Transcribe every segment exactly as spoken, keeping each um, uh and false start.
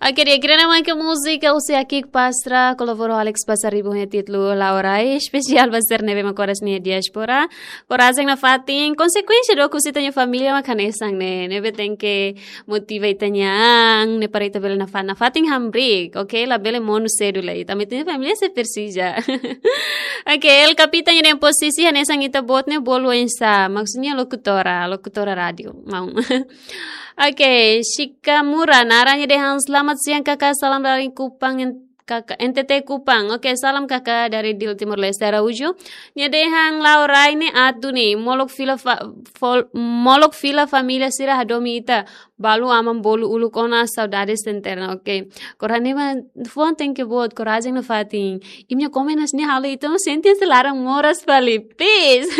Oke, di'ak, ida-ne'e mak múzika husi Akik Pastra, kolabora ho Alex Pasaribu ho nia títulu La'o Rai, espesiál ba sira ne'ebé mak moras iha diáspora. Korajen nafatin, konsekuénsia dook husi ita-nia família mak hanesan ne'e, ne'ebé tenke motiva ita-nia an, ne'e para ita bele nafa-, nafatin hamriik, oke? Labele monu sedu lai, tanba ita-nia família sei presiza. Oke, El Capitán nia dehan posisi hanesan ita-boot ne'e bolu oinsá, maksudnya lokutora, lokutora rádiu, maun. Oke, Shikamura, naran nia dehan selamat siang kakak, salam dari Kupang, en-, kakak, N T T Kupang. Oke, salam kakak dari Dili Timor Leste Araújo. Nia dehan La'o Rai ne'e aat duni, molok fila fa-, fol-, molok fila família sira hadomi ita, balu aman bolu uluk ona, saudades eterna. Oke, kora ne'e mak fuan tenke boot, korajen nafatin. Imi-nia komen hanesan ne'e halo ita sente se laran moras fali, please.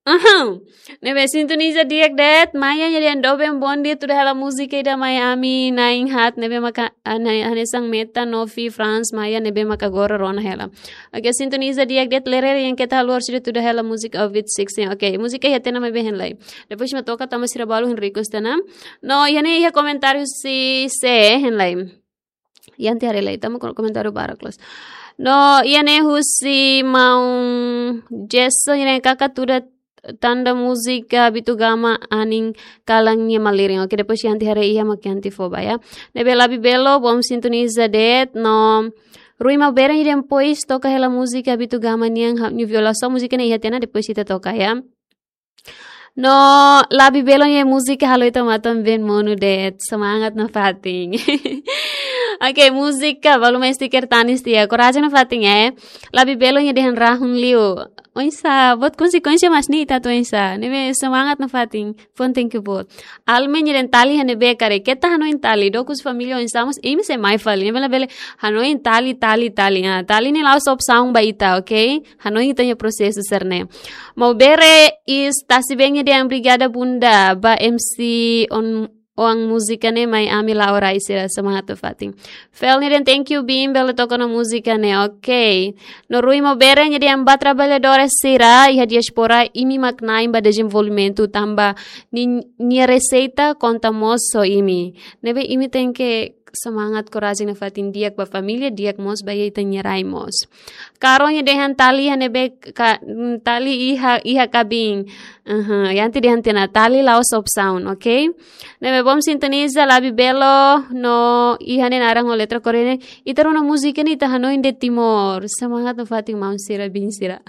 Aham. Ne'ebé sintoniza di'ak de'it, Maia nia dehan doben, bondia, tuda hela múzika ida mai ami na'in haat, ne'ebé maka, ah, na-, hanesan Meta, Novi, Franz, Maia, ne'ebé maka agora rona hela. Oke, sintoniza di'ak de'it, Lerere yang keta haluar sudah tuda hela múzika Ovid sixteen. Oke, múzika iha tiha ona maibé hein lai. Depois mak toka tanba sira balu hein request tiha ona. No, iha ne'e iha komentáriu husi sé hein lai. Iha tiha ona lai, tanba ko-, komentáriu barak loos. No, iha ne'e husi maun Jason, iha ne'e kakak tuda tanda múzika Habitu Gama anin kalan nia malirin. Oke, depois iha tiha ona iha mak iha tiha fó ba ya. Ne'ebé Labi Belo, bom sintoniza de'it, no Rui Maubere nia dehan pois toka hela múzika Habitu Gama nian, ha-, nia violasaun, múzika ne'e iha tiha ona, depois ita toka ya. No, Labi Belo nia múzika halo ita matan-been monu de'it, semangat nafatin. Oke, múzika, balu mai stiker tanis tiha, korajen nafatin, eh. Labi Belo nia dehan rahun liu. Oinsá, buat konsekuénsia mak ne'e ita atu oinsá. Ne'ebé semangat nafatin, fuan tenke boot. Alme nia dehan tali iha ne'ebé karik, keta hanoin tali, dook husi família oinsá mós, imi sei mai fali, ne'ebé labele hanoin tali, tali, tali. Ah, tali ne'e la'ós opsaun ba ita, oke? Hanoin ita-nia prosesu sira-ne'e. Maubere is Tasi Beng nia dehan obrigada bunda, ba M C On, Oan múzika ne'e mai ami La'o Rai sira, semangat nafatin. Fel nia dehan thank you biin, bele toka ona múzika ne'e, oke. No Rui Maubere nia dehan ba traballadores sira iha diáspora, imi mak na'in ba dezenvolvimentu tanba ni-, nia reseita konta mós ho imi. Ne'ebé imi tenke semangat, korajen nafatin, di'ak ba família, di'ak mós ba ita-nia rai mós. Karo nia dehan tali iha ne'ebé ka-, mm, tali iha, iha kabin. Aha, iha tiha ona dehan tiha ona tali la'ós opsaun, oke? Ne'ebé bom sintoniza, Labi Belo, no iha ne'e naran ho letra Korea ne'e. Ita rona múzika ne'e ita hanoin de'it Timor. Semangat nafatin maun sira, biin sira.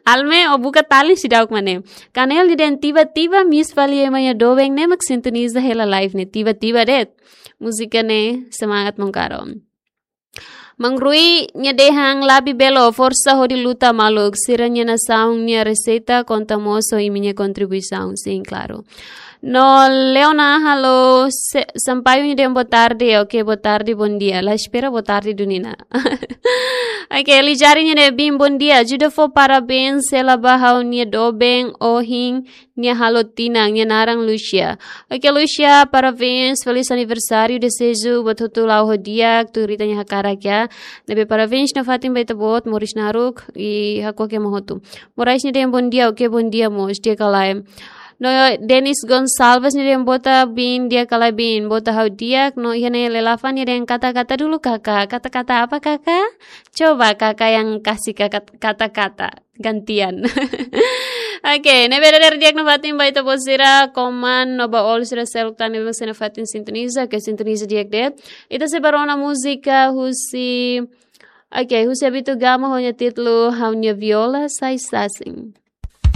Alme, ó buka tali seidauk mak ne'e. Kanel nia dehan tiba-tiba miss fali ema nia doben, ne'e mak sintoniza hela live ne'e. Tiba-tiba de'it. Múzika ne'e semangat maun Karo. Maun Rui nia dehan Labi Belo, forsa hodi luta maluk, sira-nia nasaun nia reseita konta mós ho imi-nia kontribuisaun, sin, klaru. No Leona, halo, se-, Sampaio nia dehan boa tarde, oke, boa tarde, bondia. La espera boa tarde duni ona. Oke, Lijari nia dehan biin bondia, ajuda fó parabéns hela ba ha'u-nia doben ohin, nia halo tinan, nia naran Lucia. Oke, Lucia, parabéns, feliz aniversário, deseju buat hotu la'o ho di'ak, tuir ita-nia hakarak ya. Ne'ebé parabéns nafatin ba ita-boot, moris naruk, i hakuak ema hotu. Morais nia dehan bondia, oke, bondia mós, di'ak ka lae. No, Denis Gonçalves nia dehan boa tarde biin, di'ak ka lae biin, boa tarde ha'u di'ak, no iha ne'e Lelafan nia dehan kata-kata dulu kakak, kata-kata apa kakak? Coba kakak yang kasih kakak kata-kata. Gantian. Oke, ne'ebé dadeer di'ak nafatin ba ita-boot sira, koman no ba ol sira seluk tan ne'ebé mós nafatin sintoniza, oke, sintoniza di'ak de'it. Ita sei bá rona múzika husi, oke, husi Habitu Gama ho nia títulu Ha'u-nia Viola Sai Sasin.